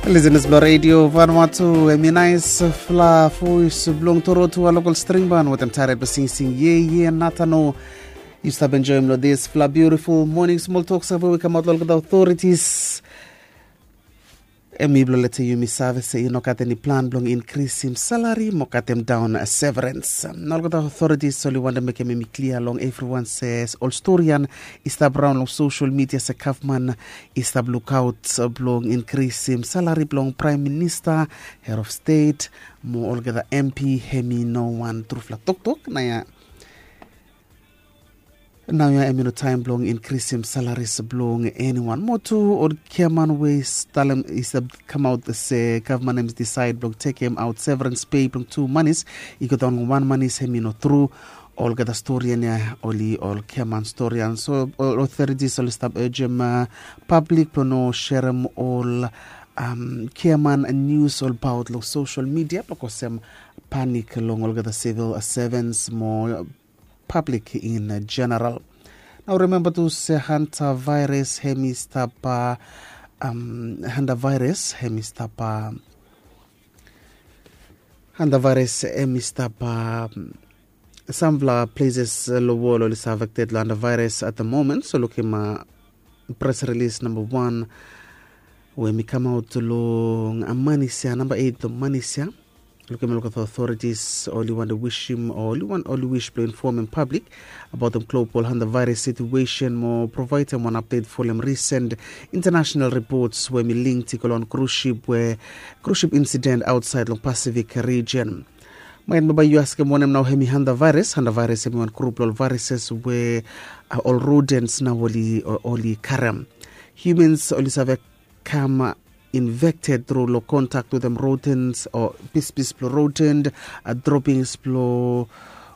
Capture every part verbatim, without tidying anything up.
Listeners blong Radio Vanuatu, em i nais fla voice blong Torotua local string band wetem title blong singsing ye ye natano. Yu stap enjoyim long this fla beautiful morning small talk save we kamaut long olgeta authorities. Em i blong leta yumi save se i no gat eni plan blong inkrisim salari mo katem daun severance. Na olgeta authorities oli wantem mekem em i klia long evriwan se ol stori ya i stap raun long social media se gavman i stap lukaut blong inkrisim salari blong praem minista, head of state, mo olgeta M P. Em i no wan trufala toktok na ya. Nau ya em i no taem blong inkrisim salaris blong eniwan. Mo tu ol giaman we i stap kamaut se gavman em i disaed blong tekem aut severance pei blong tu manis i go daon long wan manis, em i no tru. Olgeta stori ya oli ol giaman stori ya. So ol authorities oli stap ejem pablik blong no serem ol giaman nius olbaot long social media blong kosem panik long olgeta civil servants mo pablik in general. Nau rememba tu se hanta vaeres em i stap, hanta vaeres em i stap, hanta vaeres em i stap samfala pleses long wol oli save affected long hanta vaeres at the moment. So lukim pres rilis namba wan we em i kamaut long manis ya, namba eit long manis ya. Lukim olgeta authorities oli wantem wisim o oli wan oli wis blong infomem pablik abaotem global hanta vaeres situesen mo provaedem wan apdet folem risen intanasenal ripots we em i link i go long wan krus sip we krus sip insident aotsaed long Pasifik rijen. Maet mo bae yu askem wanem nao em i hanta vaeres. Hanta vaeres em i wan grup blong ol vaereses we ol rodens nao oli karem. Hiumans oli save kam infekted tru long kontak wetem rodens o pispis blong roden, dropings blong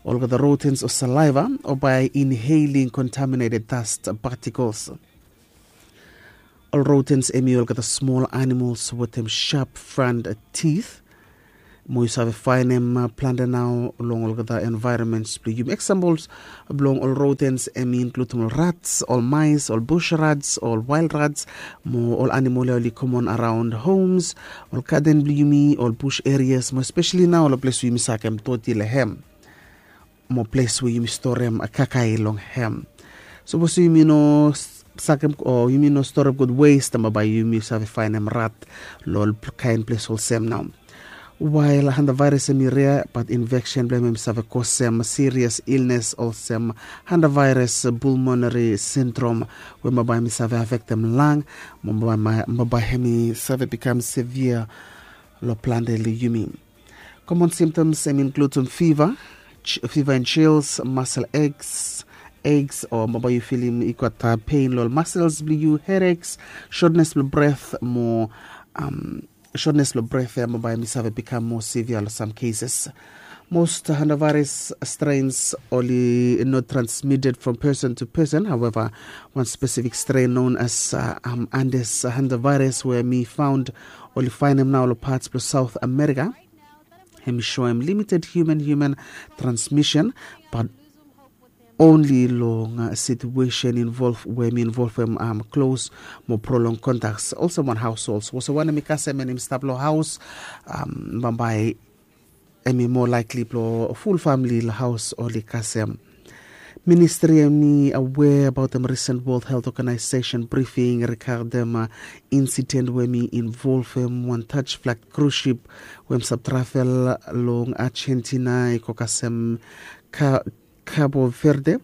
olgeta rodens o salaiva o bae inheling kontaminated dast patikels. Ol rodens em i olgeta smol animols wetem sap fran tith mo yu save faenem plante nao long olgeta envaeromens blong yumi. Eksampels blong ol rodens em i inkludim ol rats, ol mais, ol bus rats, ol wael rats mo ol animol ya oli komon araon homs, ol gaden blong yumi, ol bus erias mo espeseli nao long ples we yumi sakem doti long hem mo ples we yumi storem kakae long hem. Sapos yumi no sakem o yumi no storem gud wes, tamba bae yumi save faenem rat long ol kaen ples olsem nao. Wael hanta vaeres em i rea bat infeksen blong hem em i save kosem sirias ilnes olsem hanta vaeres pulmonari sindrom we bambae em i save afektem lang mo bambae em i save bikam sevia long plante long yumi. Komon simptoms em i inkludim fiva, fiva en chils, masel egs, egs o bambae yu filim i gat pein long ol masels blong yu, hedeks, sotnes blong bret mo sotnes blong bret ya bambae em i save bikam moa sevia long sam keses. Most hantavirus strains oli not transmitted from person to person. However, wan spesifik strain known as andes hantavirus we em i faund oli faenem nao long pats blong South America, em i soem limited human human transmission, bat onli long situesen we em i involvem klos mo prolong kontaks olsem wan haosols olsem wanem i kasem em i stap long haos, bambae em i moa laikli blong ful famili long haos oli kasem. Ministri em i awea abaotem risen World Health Organization brifing rigadem insiden we em i involvem wan taj flag krus sip we em stap travel long Argentina i go kasem Cabo Verde.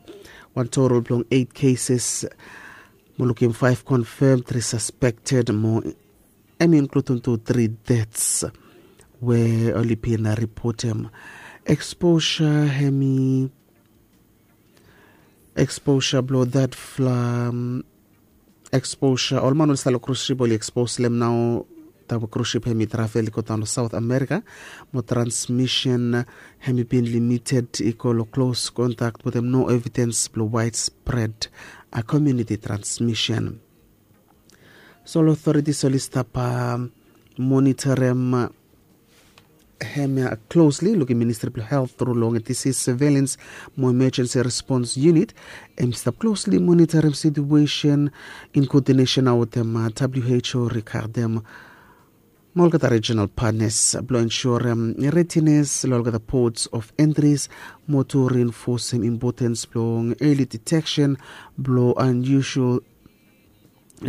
Wan total blong eit keses mo lukim faef konfem, tri saspekted mo em i inkludim tu tri dets we oli bin ripotem. Eksposa em i eksposa blong dat fla eksposa ol man oli stap long krus sip oli ekspos long em nao. Taem we krus sip em i travel i go daon long South America mo transmisen em i bin limited i go long klos kontak wetem no evidens blong waedspred komuniti transmisen. So ol otoritis oli stap monitorem hemia klosli lukim ministri blong health tru long disis surveilans mo emejensi respons yunit. Em i stap klosli monitorem situesen in koodinesen nao wetem W H O rigadem Mo olgeta regional partners blong ensurem readiness long olgeta ports of entries, mo tu reinforcem importance blong early detection blong unusual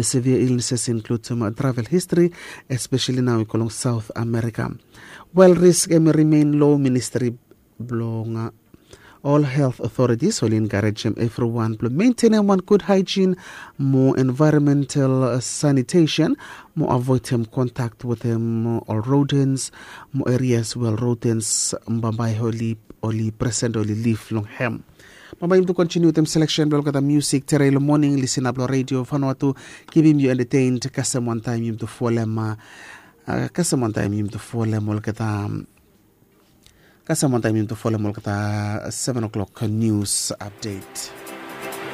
severe illnesses, including travel history, especially now i go long South America. While risk em remain low, ministry blong uh, all health authorities oli encouragem everyone blong maintaining one good hygiene, mo environmental uh, sanitation, mo avoidem contact wetem uh, all rodents, mo areas where rodents bambae oli oli present oli live long hem. Bambae yum tu continue wetem selection blong olgeta music tere long morning. Listener blong radio Vanuatu, keeping you entertained. Kasem one time yum tu folem uh, kasem one time yum tu folem olgeta kasem one time yum tu folem olgeta seven o'clock news update.